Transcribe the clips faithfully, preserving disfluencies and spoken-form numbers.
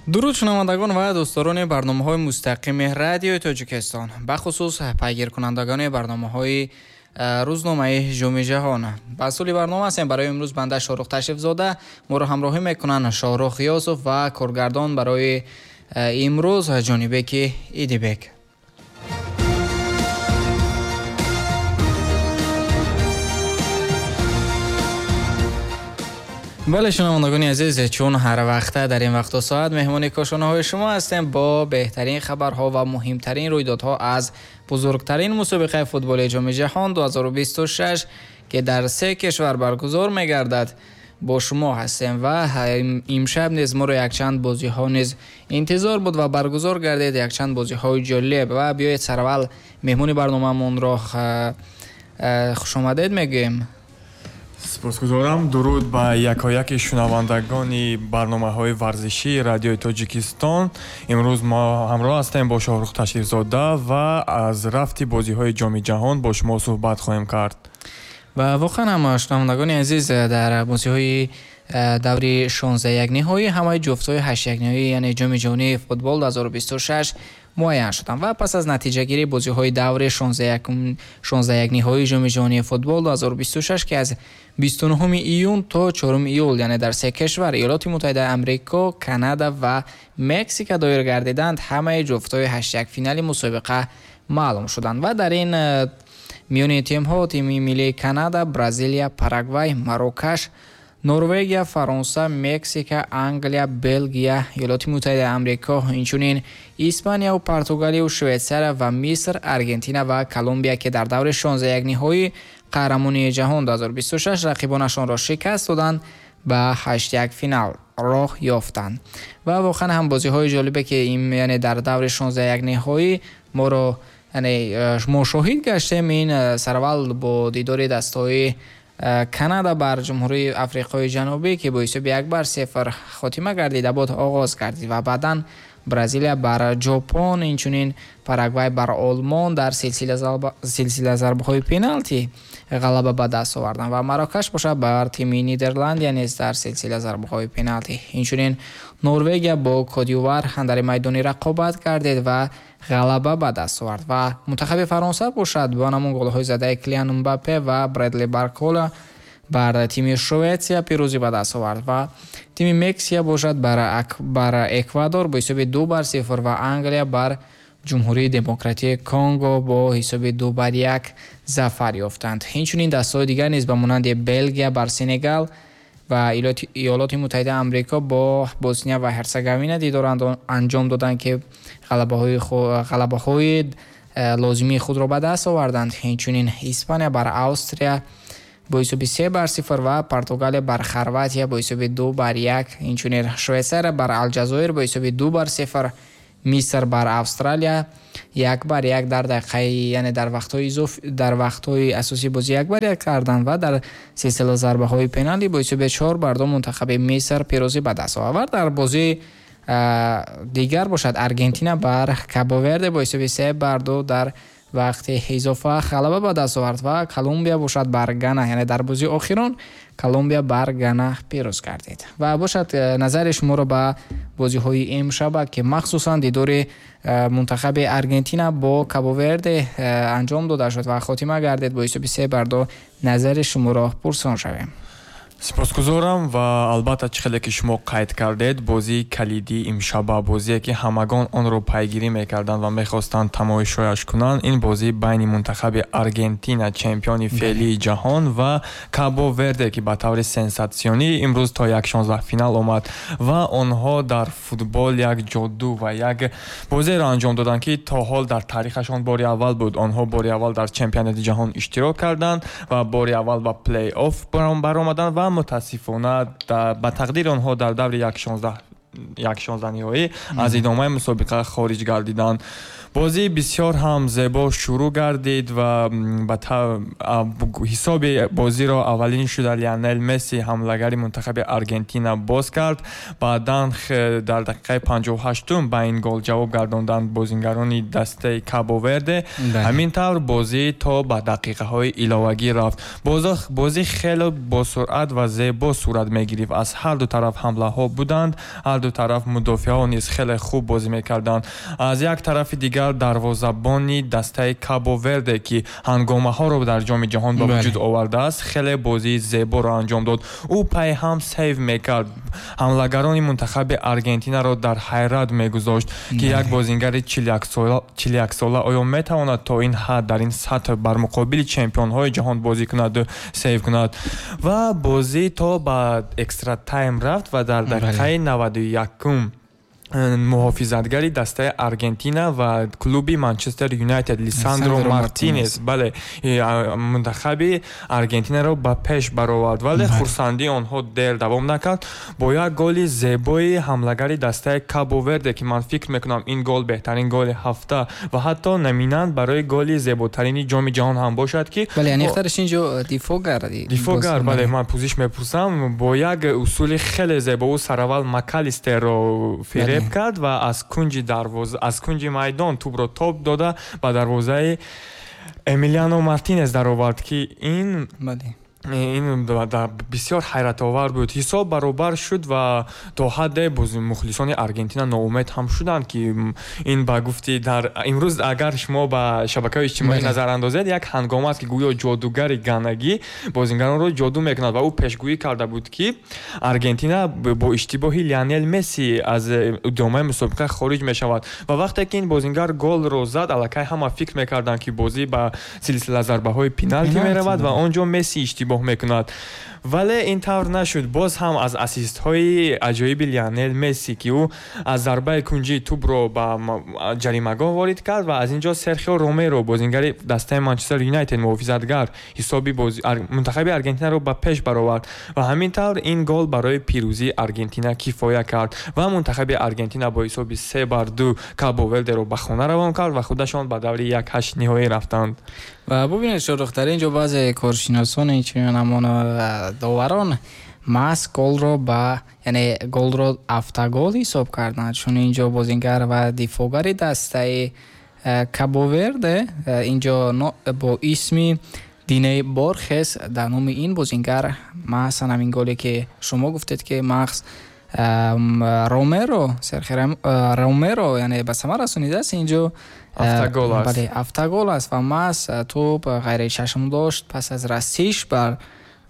Дуруд шунавандагон ва дӯстдорони барномаҳои мустақими радиои Тоҷикистон, бахусус пайгиркунандагони барномаҳои рӯзномаи Ҷоми Ҷаҳон. Ба сули барнома ҳастем. Барои имрӯз банда Шоҳрух Ташрифзода, моро ҳамроҳӣ мекунанд Шоҳрух Ғиёсов ва коргардон барои имрӯз Ҷонибеки Идибек. Бале, шунавандагони азиз, чун ҳар вақта дар ин вақту соат меҳмони кошонаҳои шумо ҳастем бо беҳтарин хабарҳо ва муҳимтарин рӯйдодҳо аз бузургтарин мусобиқаи футболи Ҷоми Ҷаҳон ду ҳазору бисту шаш, ки дар се кишвар баргузор мегардад, бо шумо ҳастем ва имшаб низ моро якчанд бозиҳо низ интизор буд ва баргузор гардид якчанд бозиҳои ҷолиб. Ва биёед сараввал меҳмони барномаамонро хушомадед мегӯем. Сипосгузорам. Дуруд ба якояки шунавандагони барномаҳои варзишии радиои Тоҷикистон. Имрӯз мо ҳамроҳ ҳастем бо Шоҳрух Ташрифзода ва аз рафти бозиҳои Ҷоми Ҷаҳон бо шумо суҳбат хоҳем кард. Ва воқеан ҳам шунавандагони азиз, дар бозиҳои даври шонздаҳ як ниҳоӣ ҳамаи ҷуфтҳои ҳашт як ниҳоӣ, яъне Ҷоми Ҷаҳонии футбол ду ҳазору бисту шаш муайян шуданд ва пас аз натиҷагирии бозиҳои даври шонздаҳ як ниҳоии Ҷоми Ҷаҳонии футбол ду ҳазору бисту шаш, ки аз бисту нӯҳуми июн то чоруми июл, яъне дар се кишвар Иёлоти Муттаҳидаи Амрико, Канада ва Мексика доир гардиданд, ҳамаи ҷуфтҳои ҳашт як финали мусобиқа маълум шуданд ва дар ин миёни тимҳо тими миллии Канада, Бразилия, Парагвай, Марокаш, Норвегия, Фаронса, Мексика, Англия, Белгия, Иёлоти Муттаҳидаи Амрико, инчунин Испанияу Португалию Швейтсария ва Миср, Аргентина ва Колумбия, ки дар даври шонздаҳ як ниҳоӣ қаҳрамонии ҷаҳон ду ҳазору бисту шаш рақибонашонро шикаст доданд, ба ҳашт як финал роҳ ёфтанд. Ва воқеан ҳам бозиҳои ҷолибе, ки яъне дар даври шонздаҳ як ниҳоӣ моро яъне мо шоҳид гаштем, ин сараввал бо дидори дастҳои Канада бар Ҷумҳурии Африқои Ҷанубӣ, ки бо ҳисоби як бар сифр хотима гардида буд, оғоз гардид ва баъдан Бразилия бар Ҷопон, инчунин Парагвай бар Олмон дар силсила зарбаҳои пеналти ғалаба ба даст оварданд ва Марокаш бошад бар тими Нидерландия низ дар силсила зарбаҳои пеналти. Инчунин Норвегия бо Кодивуар дар майдони рақобат гардид ва ғалаба ба даст овард ва мунтахаби Фаронса бошад бо ҳамон голҳои задаи Килиан Мбаппе ва Бредли Баркола бар тими Шветсия пирӯзӣ ба даст овард ва тими Мексия бошад бар Эквадор бо ҳисоби ду бар сифр ва Англия бар Ҷумҳурии Демократии Конго бо ҳисоби ду бар як зафар ёфтанд. Инчунин дастҳои дигар низ ба монанди Белгия бар Сенегал ва Иёлоти Муттаҳидаи Амрико бо Босния ва Ҳерцеговина дидор анҷом доданд, ки ғалабаҳои лозимии худро ба даст оварданд. Инчунин Испания бар Австрия бо ҳисоби се бар сифр ва Португалия бар Хорватия бо ҳисоби ду бар як, инчунин Швейтсария бар Алҷазоир бо ҳисоби ду бар сифр, Миср бар Австралия як бар як дар дақиқаи, яъне дар вақтҳои изоф дар вақтҳои асосии бозӣ як бар як карданд ва дар силсила зарбаҳои пеналти бо ҳисоби чор бар ду мунтахаби Миср пирӯзӣ ба даст овард. Дар бозии дигар бошад Аргентина бар Кабо-Верде бо ҳисоби се бар ду дар вақти изофа ғалаба ба даст овард ва Колумбия бошад бар Гана, яъне дар бозии охирон Колумбия бар Гана пирӯз гардид. Ва бошад назари шуморо ба бозиҳои имшаба, ки махсусан дидори мунтахаби Аргентина бо Кабо-Верде анҷом дода шуд ва хотима гардид бо ҳисоби се бар ду, назари шуморо пурсон шавем. Сипосгузорам ва албатта чӣ хеле ки шумо қайд кардед, бозии калидии имшаба, бозие ки ҳамагон онро пайгирӣ мекарданд ва мехостанд тамошояш кунанд, ин бозии байни мунтахаби Аргентина, чемпиони феълии ҷаҳон, ва Кабо-Верде, ки ба таври сенсатсионӣ имрӯз то як шонздаҳ финал омад ва онҳо дар футбол як ҷоду ва як бозиеро анҷом доданд, ки то ҳол дар таърихашон бори аввал буд. Онҳо бори аввал дар чемпионати ҷаҳон иштирок карданд ва бори аввал ба плей-офф баромаданд ва мутаассифона ба тақдири онҳо дар даври як шонздаҳ ниҳоӣ аз идомаи мусобиқа хориҷ гардиданд. Бозӣ бисёр ҳам зебо шурӯъ гардид ва ба ҳисоби бозиро аввалин шуда Лионел Месси, ҳамлагари мунтахаби Аргентина, боз кард. Баъдан дар дақиқаи панҷоҳу ҳаштум ба ин гол ҷавоб гардонданд бозингарони дастаи Кабо-Верде. Ҳамин тавр бозӣ то ба дақиқаҳои иловагӣ рафт. Бозӣ хеле босуръат ва зебо сурат мегирифт. Аз ҳар ду тараф ҳамлаҳо буданд, ҳар ду тараф мудофиаҳо низ хеле хуб бозӣ мекарданд. Аз як тарафи дигар дарвозабони дастаи Кабо Верде, ки ҳангомаҳоро дар Ҷоми ҷаҳон ба вуҷуд овардааст, хеле бозии зеборо анҷом дод. Ӯ пайҳам сейв мекард, ҳамлагарони мунтахаби Аргентинаро дар ҳайрат мегузошт, ки як бозингари чилу яксола оё метавонад то ин ҳад дар ин сатҳ бар муқобили чемпионҳои ҷаҳон бозӣ кунад, сейв кунад. Ва бозӣ то ба экстра тайм рафт ва дар дақиқаи наваду якум муҳофизатгари дастаи Аргентина ва клуби Манчестер Юнайтед Лисандро Мартинес, бале, мунтахаби Аргентинаро ба пеш баровард, вале хурсандии онҳо дер давом накард. Бо як голи зебои ҳамлагари дастаи Кабо Верде, ки ман фикр мекунам ин гол беҳтарин голи ҳафта ва ҳатто номинант барои голи зеботарини Ҷоми ҷаҳон ҳам бошад, ки бале, аниқтараш инҷо дифоъгар, дифоъгар, бале, ман пӯзиш мепурсам, бо як усули хеле зебо ӯ сараввал Макалистерро фиреб кард ва аз кунҷи дарвоза, аз кунҷи майдон тӯбро топ дода ба дарвозаи Эмилиано Мартинес даровард, ки ин ин бисёр ҳайратовар буд. Ҳисоб баробар шуд ва то ҳадде мухлисони Аргентина ноумед ҳам шуданд, ки ин ба гуфти дар имрӯз агар шумо ба шабакаҳои иҷтимоӣ назар андозед, як ҳангома аст, ки гӯё ҷодугари ганагӣ бозингаронро ҷоду мекунад ва ӯ пешгӯӣ карда буд, ки Аргентина бо иштибоҳи Лионел Месси аз идомаи мусобиқа хориҷ мешавад. Ва вақте ки ин бозингар голро зад, аллакай ҳама фикр мекарданд, ки бозӣ ба силсила зарбаҳои пеналти меравад ва он ҷо Месси иштибоҳ мекунад. Вале ин тавр нашуд. Боз ҳам аз ассистҳои аҷоиби Лионел Месси, ки ӯ аз зарбаи кунҷии тӯбро ба ҷаримагоҳ ворид кард ва аз ин ҷо Серхио Ромеро, бозингари дастаи Манчестер Юнайтед, муҳофизатгар, ҳисоби мунтахаби Аргентинаро ба пеш баровард ва ҳамин тавр ин гол барои пирӯзии Аргентина кифоя кард ва мунтахаби Аргентина бо ҳисоби се бар ду Кабо Вердеро ба хона равон кард ва худашон ба даври як ҳашт ниҳоӣ рафтанд. Ва бубинед, Шоҳрух, дар ин ҷо баъзе коршиносон, инчунин ҳамон доварон маҳз голро ба, яъне голро автогол ҳисоб карданд, чун ин ҷо бозингар ва дифоъгари дастаи Кабо Верде ин ҷо бо исми Диней Борхес, дар номи ин бозингар маҳз ҳамин голе ки шумо гуфтед, ки маҳз Ромеро, Серхио Ромеро, яъне ба самар расонидааст, ин ҷо автогол аст. Бале, автогол аст ва маҳз тӯб ғайричашм дошт пас аз расиш бар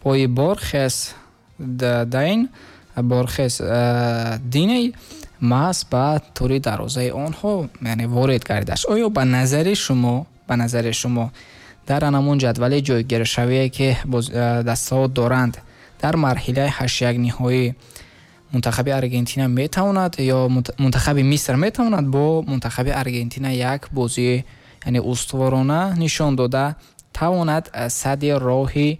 пои Борхес Дайн, Борхес Диней маҳз ба тури дарвозаи онҳо, яъне ворид гардидааст. Оё ба назари шумо, ба назари шумо дар ҳамон ҷадвали ҷойгиршавие ки дастаҳо доранд дар марҳилаи ҳашт як ниҳоӣ мунтахаби Аргентина метавонад ё мунтахаби Миср метавонад бо мунтахаби Аргентина як бозӣ, яъне устуворона нишон дода тавонад садди роҳи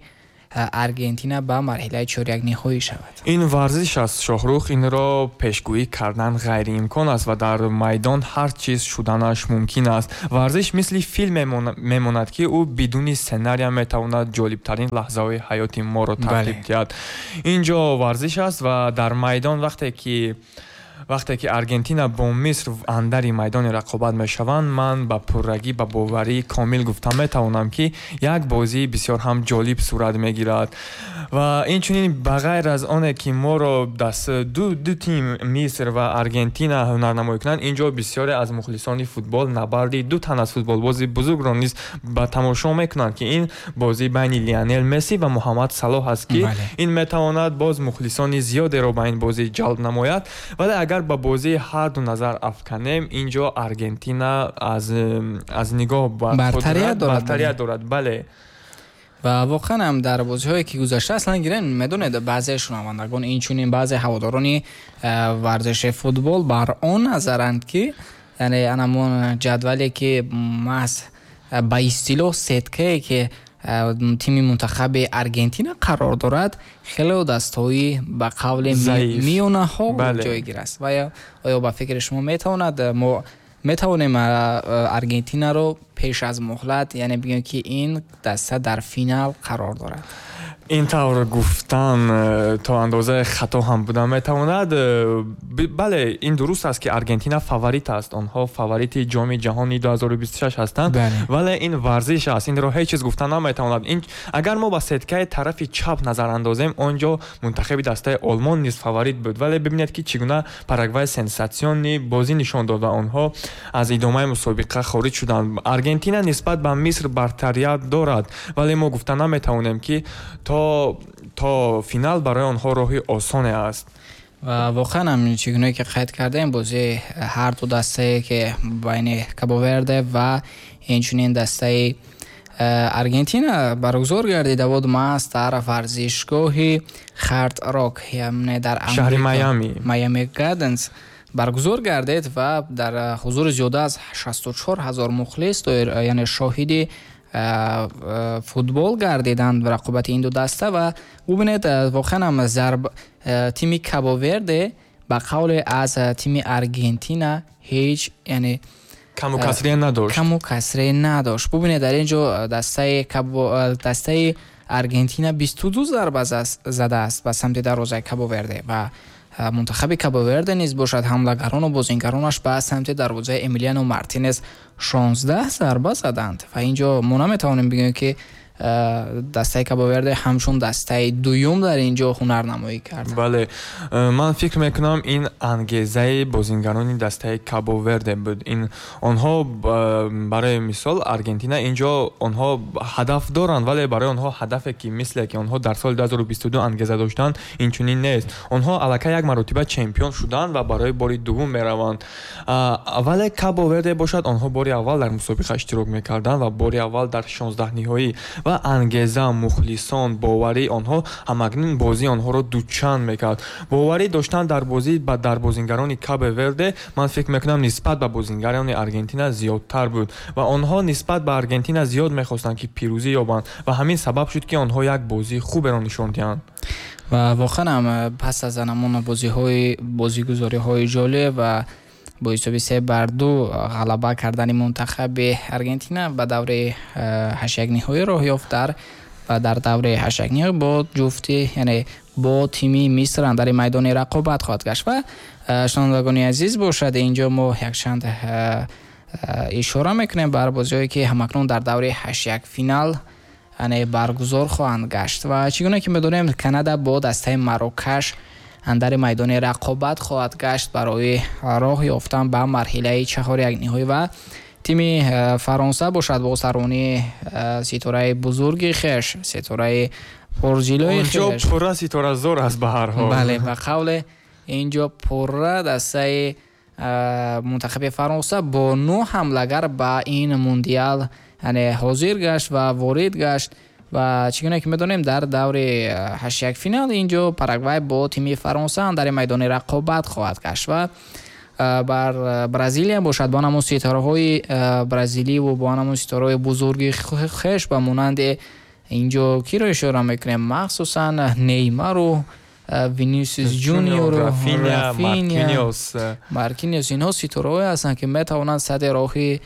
Аргентина ба марҳилаи чоряк ниҳоӣ шавад? Ин варзиш аст, Шоҳрух, инро пешгӯӣ кардан ғайриимкон аст ва дар майдон ҳар чиз шуданаш мумкин аст. Варзиш мисли филм мемонад, ки ӯ бидуни сценария метавонад ҷолибтарин лаҳзаҳои ҳаёти моро тартиб диҳад. Ин ҷо варзиш аст ва дар майдон вақте ки вақте ки Аргентина бо Миср андари майдони рақобат мешаванд, ман ба пуррагӣ, ба боварии комил гуфта метавонам, ки як бозии бисёр ҳам ҷолиб сурат мегирад. Ва инчунин ба ғайр аз оне ки моро даст ду ду тим Миср ва Аргентина ҳунарнамоӣ кунанд, ин ҷо бисёре аз мухлисони футбол набарди ду тан аз футболбози бузургро низ ба тамошо мекунанд, ки ин бозӣ байни Лионел Месси ва Муҳаммад Салоҳ аст, ки ин метавонад боз мухлисони зиёдеро ба ин бозӣ ҷалб намояд. Вале агар ба бозии ҳар ду назар афканем, ин ҷо Аргентина аз аз нигоҳ бартарият дорад, бартарият дорад, бале. Ва воқеан ҳам дар бозиҳое ки гузашта аслан гирем, медонед, баъзе шунавандагон, инчунин баъзе ҳаводорони варзиши футбол бар он назаранд, ки яъне анамон ҷадвале ки маҳз ба истилоҳ сеткае ки тими мунтахаби Аргентина қарор дорад, хеле дастҳои ба қавли миёнаҳо ҷойгир аст. Ва оё ба фикри шумо метавонад мо метавонем Аргентинаро пеш аз муҳлат, яъне бигӯем, ки ин даста дар финал қарор дорад? Ин тавр гуфтан то андозаи хато ҳам буда метавонад. Бале, ин дуруст аст, ки Аргентина фаворит аст, онҳо фаворити Ҷоми ҷаҳони ду ҳазору бисту шаш ҳастанд, вале ин варзиш аст, инро ҳеҷ чиз гуфта наметавонад. Агар мо ба сеткаи тарафи чап назар андозем, он ҷо мунтахаби дастаи Олмон низ фаворит буд, вале бибинед, ки чӣ гуна Парагвай сенсатсионный бозӣ нишон дод ва онҳо аз идомаи мусобиқа хориҷ шуданд. Аргентина нисбат ба Миср бартарият дорад, вале мо гуфта наметавонем, ки то то финал барои онҳо роҳи осоне аст. Ва воқеан ҳам, чӣ гунае ки қайд кардем, бозии ҳар ду дастае, ки байни Кабоверде ва инчунин дастаи э, Аргентина баргузор гардида буд, маҳз дар варзишгоҳи Хард Рок, яъне дар шаҳри Майами. Майами Гарденс баргузор гардид ва дар ҳузури зиёда аз шасту чор ҳазор мухлис, яъне шоҳиди футбол гардиданд рақобати ин ду даста. Ва бубинед, воқеан ҳам зарб тими Кабоверде ба қавле аз тими Аргентина ҳеҷ, яъне каму касре надошт. Каму касре надошт. Бубинед, дар ин ҷо дастаи дастаи Аргентина бисту ду зарба задааст ба самти дарвозаи Кабоверде ва мунтахаби Кабоверде низ бошад, ҳамлагарону бозингаронаш ба самти дарвозаи Эмилиано Мартинес шонздаҳ зарба заданд. Ва ин ҷо мо наметавонем бигӯем, ки дастаи Кабоверде ҳамчун дастаи дуюм дар ин ҷо ҳунарнамоӣ кард. Бале, ман фикр мекунам, ин ангезаи бозингарони дастаи Кабоверде буд. Ин онҳо, барои мисол, Аргентина ин ҷо онҳо ҳадаф доранд, вале барои онҳо ҳадафе, ки мисле ки онҳо дар соли ду ҳазору бисту ду ангеза доштанд, инчунин нест. Онҳо аллакай як маротиба чемпион шуданд ва барои бори дуввум мераванд, вале Кабоверде бошад, онҳо бори аввал дар мусобиқа иштирок мекарданд ва бори аввал дар шонздаҳ ниҳоӣ, ва ангеза, мухлисон, боварии онҳо ҳамакнун бозии онҳоро дучанд мекард. Боварӣ доштан дар бозӣ дар бозингарони Кабо Верде, ман фикр мекунам, нисбат ба бозингарони Аргентина зиёдтар буд ва онҳо нисбат ба Аргентина зиёд мехостанд, ки пирӯзӣ ёбанд, ва ҳамин сабаб шуд, ки онҳо як бозии хуберо нишон диҳанд. Ва воқеан ҳам, пас аз анамон бозиҳои бозигузориҳои ҷолиб ва бо ҳисоби се бар ду ғалаба кардани мунтахаби Аргентина ба давраи ҳаштякниҳоӣ роҳ ёфт дар ва дар давраи ҳаштякниҳоӣ бо ҷуфти, яъне бо тими Миср андари майдони рақобат хоҳад гашт. Ва шунавандагони азиз, бошад, инҷо мо якчанд ишора мекунем бар бозиҳое, ки ҳамакнун дар давраи ҳаштяк финал, яъне баргузор хоҳанд гашт. Ва чӣ гуна ки медонем, Канада бо дастаи Марокаш андари майдони рақобат хоҳад гашт барои роҳ ёфтан ба марҳилаи чаҳорякниҳоӣ. Ва тими э, Фаронса бошад, бо саронии э, ситораи бузурги хеш, ситораи пурҷилои хеш. Пурра ситоразор аст ба ҳар ҳол. Бале, ба қавле инҷо пурра дастаи э, мунтахаби Фаронса бо нӯ ҳамлагар ба ин мундиал, яъне ҳозир гашт ва ворид гашт. Ва чӣ гуна ки медонем, дар даври э, ҳаштяк финал инҷо Парагвай бо тими Фаронса дар майдони рақобат хоҳад гашт. Ва э, бар э, Бразилия бошад, бо ҳамон ситораҳои бразиливу бо ҳамон ситораҳои бузурги хеш, ба монанди инҷо киро ишора мекунем, махсусан Неймару, Винисиус Жуниору, Рафиня, Маркиниос, инҳо ситораҳое ҳастанд, ки метавонанд сади роҳи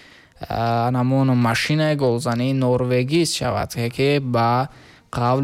анамон машинаи голзании норвегист шавад, ки ба қавли